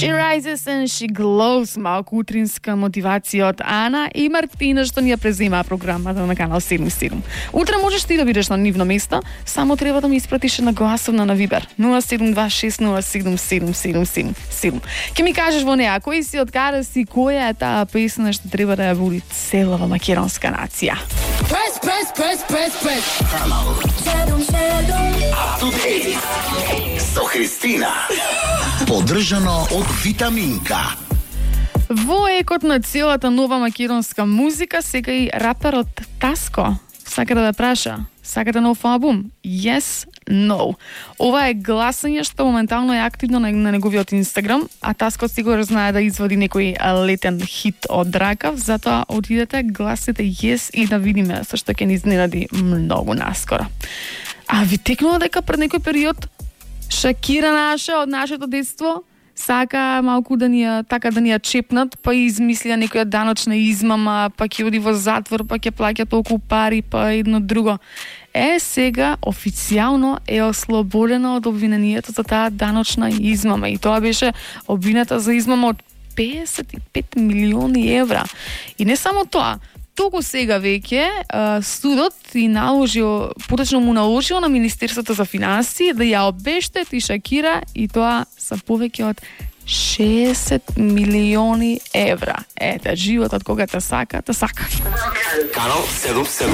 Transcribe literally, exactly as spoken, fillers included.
She rises and she glows, малку утринска мотивација од Ана и Мартина што ни ја презема програмата на канал седум и седум. Утре можеш ти да бидеш на нивно место, само треба да ми испратиш на гласовна на Вибер нула седум два шест нула седум седум седум седум. Ке ми кажеш во неа кој си, од каде си, која е таа песна што треба да ја води целава македонска нација. Press, press, press, press, press. седум седум. Со Христина. Поддржано од Витаминка. Во екот на целата нова македонска музика, сега и раперот Таско сака да ве праша: сакате нов албум? Yes, no. Ова е гласање што моментално е активно на, на неговиот Инстаграм, а Таско сигурно знае да извади некој летен хит од ракав, затоа отидете, гласите yes и да видиме со што ќе ни изненади многу наскоро. А ви текнува дека пред некој период Шакира наша од нашето детство сака малку да ни ја, така да ни ја чепнат, па измислија некоја даночна измама, па ќе оди во затвор, па ќе плаќа толку пари, па едно друго. Е, сега официјално е ослободена од обвинението за таа даночна измама, и тоа беше обвинета за измама од педесет и пет милиони евра. И не само тоа, толку сега веќе судот и наложил, поточно му наложил на Министерството за финансии да ја обештети Шакира, и тоа са повеќе од шеесет милиони евра. Ете, животот кога те сака, те сака. Канал седум седум.